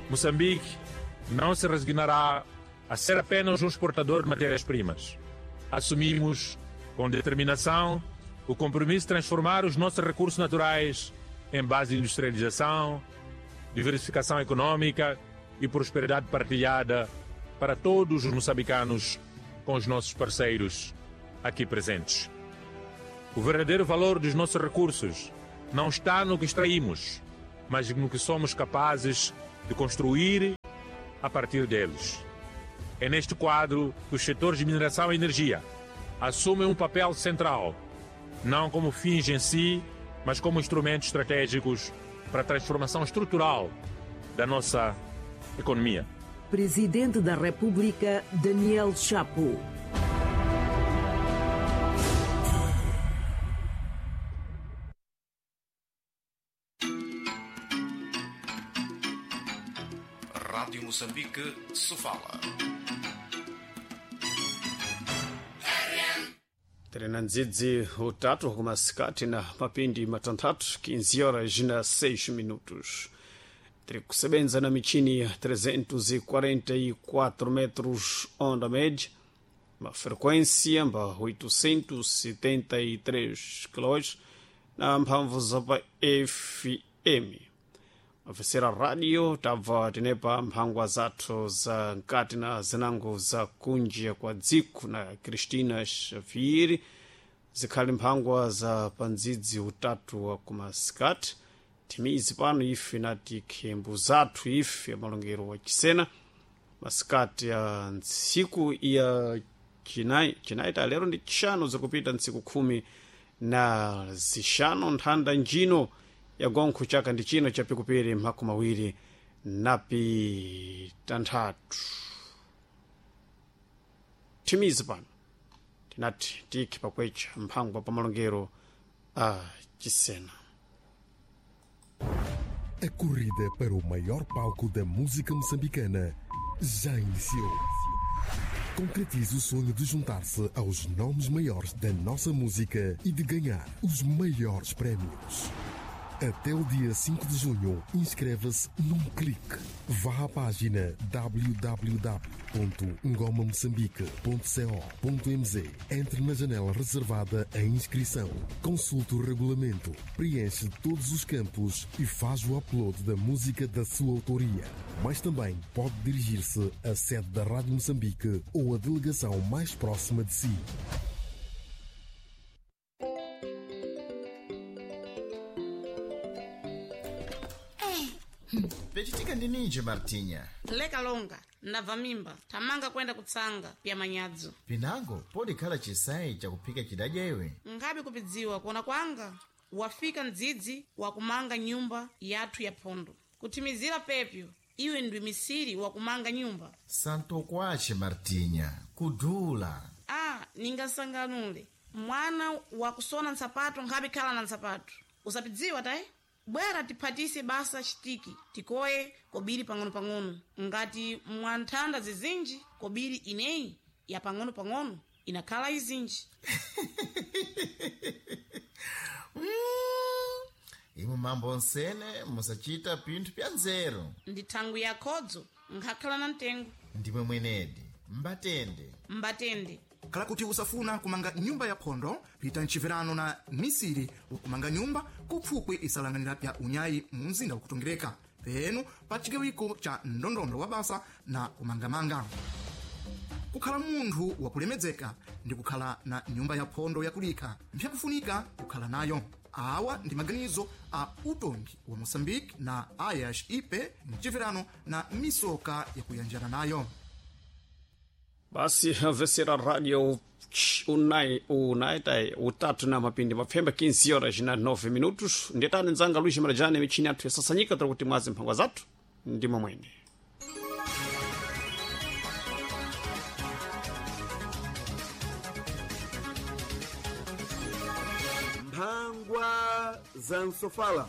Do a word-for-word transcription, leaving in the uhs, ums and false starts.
Moçambique não se resignará a ser apenas um exportador de matérias-primas. Assumimos, com determinação, o compromisso de transformar os nossos recursos naturais em base de industrialização, diversificação econômica e prosperidade partilhada para todos os moçambicanos com os nossos parceiros aqui presentes. O verdadeiro valor dos nossos recursos não está no que extraímos, mas no que somos capazes de construir a partir deles. É neste quadro que os setores de mineração e energia assumem um papel central, não como fins em si, mas como instrumentos estratégicos para a transformação estrutural da nossa economia. Presidente da República, Daniel Chapo. Rádio Moçambique, Sofala. Terena ndzidzi utatu kumasikati na mapindi matanthatu quinze horas na seis minutos. Tiri kusebenza na michini ya trezentos e quarenta e quatro metros onda média, uma frequência mba oitocentos e setenta e três quilômetros na mphamvu za pa F M. Mafesera radio tabva tinepa mphangwa zathu za nkati na zinango za kunja kwa dziko na Cristina Xavier, zikhali mphangwa za pandzidzi utatu wa kumasikati. Timizi pano ife nati khembu zathu ife malongero wa chisena masikati ya ntsiku ya chinayi chinayi ta lero ndi chishanu zikupita ntsiku khumi na zishanu nthanda njino ya gonkho chaka ndi chino chapikupiri makumi awiri napi tanthatu. Timizi pano tinati tikhe pakwecha mphangwa pa malongero a chisena. A corrida para o maior palco da música moçambicana já iniciou. Concretize o sonho de juntar-se aos nomes maiores da nossa música e de ganhar os maiores prémios. Até o dia cinco de junho, inscreva-se num clique. Vá à página w w w ponto ngoma moçambique ponto co ponto m z. Entre na janela reservada à inscrição. Consulte o regulamento, preenche todos os campos e faz o upload da música da sua autoria. Mas também pode dirigir-se à sede da Rádio Moçambique ou à delegação mais próxima de si. Pechitika ndi ninji Martinha? Leka longa, ndabva mimba, tamanga kwenda kutsanga pya manyadzo. Pinango podikhala chisayi chakuphika chidadya iwe. Nkhabe kupidziwa kuona kwanga, wafika mdzidzi wakumanga nyumba yathu ya phondo. Kuthimizira pepyo, iwe ndiwe misiri wakumanga nyumba. Santo kwache Martinha, kudula. Ah, ningasanganule. Mwana wakusona nsapato nkhabe khala na nsapato. Usapidziwa tayi? Bwera tiphatise basa chitiki tikoye kobiri pang'ono-pang'ono ngati mwanthanda zizinji kobiri ineyi ya pang'ono-pang'ono inakhala izinji. Mm. Imwe mambo onsene musachita pinthu pya nzeru. Ndi thangwi ya khodzo nkhakhala na mtengo. Ndimwe mwenedi mbatende. Mbatende. Khala kuti usafuna kumanga nyumba ya phondo, pita mchiverano na misiri wakumanga nyumba kupfupwi isalanganira pya unyayi mu mzinda wakutongereka penu pa chigawiko cha ndondondo wa basa na kumangamanga. Kukhala munthu wakulemedzeka ndi kukhala na nyumba ya phondo yakulikha mpyakufunika kukhala nayo. Awa ndi maganizo a utongi wa Moçambique na A I A S I P mchiverano na misoka yakuyanjana nayo. Basi amvesera radio unai unai tai utatu na mapindi mapfemba quinze horas na nove minutos. Ndetani nzanga Luiz Marajane michini yathu yasasanyika tiri kuti mwazi mphangwa zathu ndimo mwene. Mphangwa za Nsofala.